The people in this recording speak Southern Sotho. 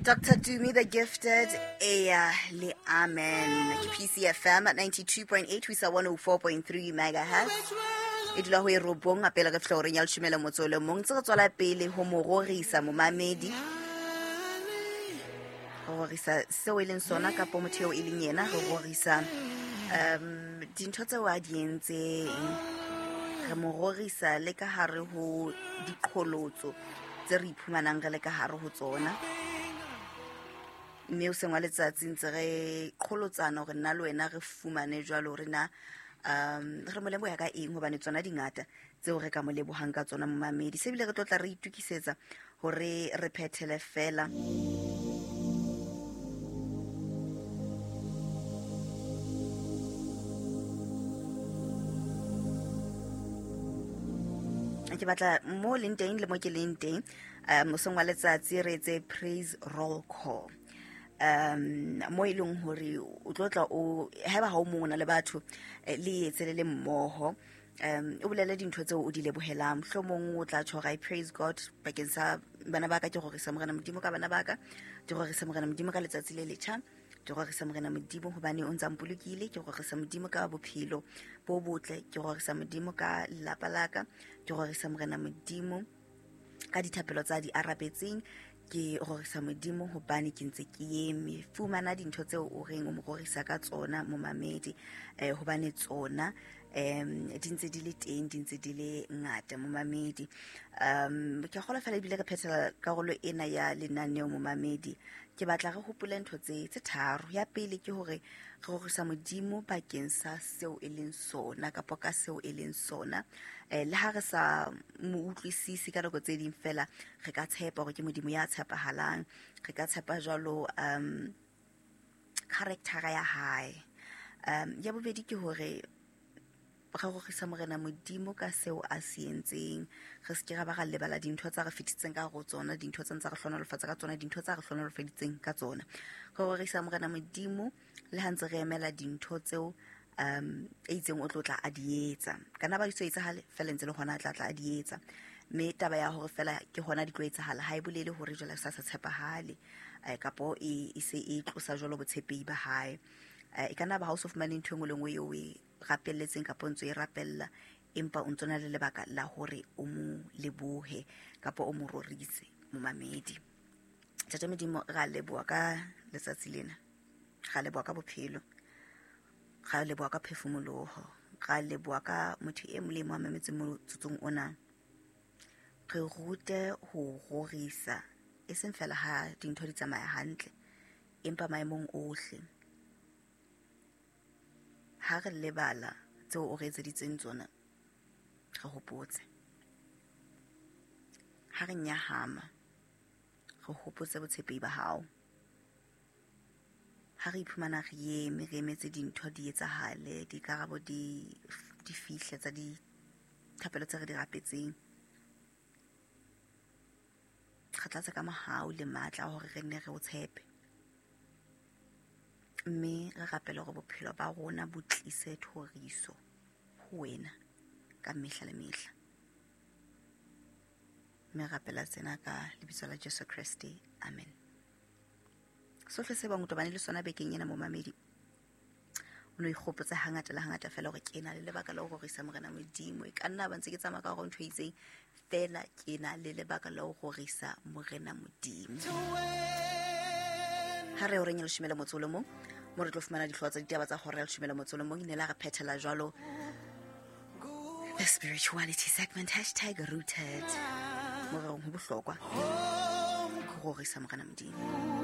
Dr. Tumi the Gifted, eya le amen. Ke PCFM 92.8 ho isa 104.3 megahertz. E dula ho e robong a pele re fihla horeng ya leshome le motso o le mong. Ntse re tswela pele ho mo rorisa momamedi. Re rorisa seo e leng sona kapo motho eo e leng yena. Re rorisa dintho tseo a di entseng. Re mo rorisa le ka hare ho diqholotso tse re iphumanang re le ka hare ho tsona. Mme o seng wa letsatsi ntse re qholotsana hore nna le wena re fumane jwalo hore na re mo leboha ka eng, hobane tsona di ngata tseo re ka mo lebohang ka tsona momamedi. Se bile re tlo tla re itukisetsa hore re phethele fela. Ke batla mo leng teng le mo ke leng teng, mosong wa letsatsi re etse praise roll call. Mo e leng hore o tlo tla o haeba ha o mong o na le batho, le etse le le mmoho. O bolele dintho tseo o di lebohelang. Mohlomong o tla tjho hore I praise God bakeng sa bana ba ka, ke rorisa Morena Modimo ka bana ba ka, ke rorisa Morena Modimo ka letsatsi le letjha, ke rorisa Morena Modimo hobane o ntsa mpolokile, ke rorisa Modimo ka bophelo bo botle, ke rorisa Modimo ka lelapa la ka, ke rorisa Morena Modimo ka dithapelo tsa di arabetseng, ke rorisa Modimo hobane ke ntse ke eme. Fumana dintho tseo o reng o mo rorisa ka tsona momamedi, hobane tsona di ntse di le teng, di ntse di le ngata momamedi. Ke a kgolwa fela ebile re phethela karolo ena ya lenaneo momamedi. Ke batla re hopole ntho tse tharo. Ya pele ke hore re rorisa Modimo bakeng sa seo e leng sona kapa ka seo e leng sona. Le ha re sa mo utlwisise ka nako tse ding fela, re ka tshepa hore ke Modimo ya tshepahalang. Re ka tshepa jwalo character ya hae. Ya bobedi ke hore re rorisa Morena Modimo ka seo a se entseng. Re se ke ra ba ra lebala dintho tsa re fetisitseng ka hare ho tsona, dintho tse ntse re hlohonolofatsa ka tsona, dintho tsa re hlohonolofaditseng ka tsona. Re rorisa Morena Modimo le ha ntse re emela dintho tseo e itseng o tlo tla a di etsa. Ka nna ba di so etsahale, fela ntse le hona a tla tla a di etsa. Mme taba ya hore fela ke hona di tlo etsahala ha e bolele hore jwale sa sa tshepahale, kapo e se e tlosa jwalo botshepehi ba hae. E ka nna ba ha o so fumane ntho e nngwe le nngwe eo o e rapelletseng kapo ntso e rapella, empa o ntso na le lebaka la hore o mo lebohe kapo o mo rorise momamedi. Ntate Modimo, ra leboha ka letsatsi lena, ra leboha ka bophelo, ra leboha ka phefumoloho, ra leboha ka motho e mong le e mong a mametseng motsotsong ona. Re rute ho rorisa, e seng fela ha dintho di tsamaya hantle, empa maemong ohle. Ha re lebala tseo o re etseditseng tsona, re hopotse. Ha re nyahama, re hopotse botshepehi ba hao. Ha re iphumana re eme, re emetse dintho di etsahale, dikarabo di fihle tsa dithapelo tse re di rapetseng, re tlatse ka mohau le matla a hore re nne re o tshepe. Mme re rapele hore bophelo ba rona bo tlise thoriso ho wena ka mehla le mehla. Mme rapela tsena ka lebitso la Jesu Kreste, amen. Sohle se bang o tobane le sona bekeng ena momamedi, o no ikgopotse hangata le hangata fela hore ke na le lebaka la ho rorisa Morena Modimo. E ka nna ba ntse ke tsamaya ka hore ntho e itseng, fela ke na le lebaka la ho rorisa Morena Modimo. Ha re horeng ya leshome le motso o le mong, mo re tlo fumana dihlooho tsa ditaba tsa hora ya leshome le motso o le mong, ne la re phethela jwalo the spirituality segment, hashtag rooted. Mo re reng ho bohlokwa ho rorisa Morena Modimo.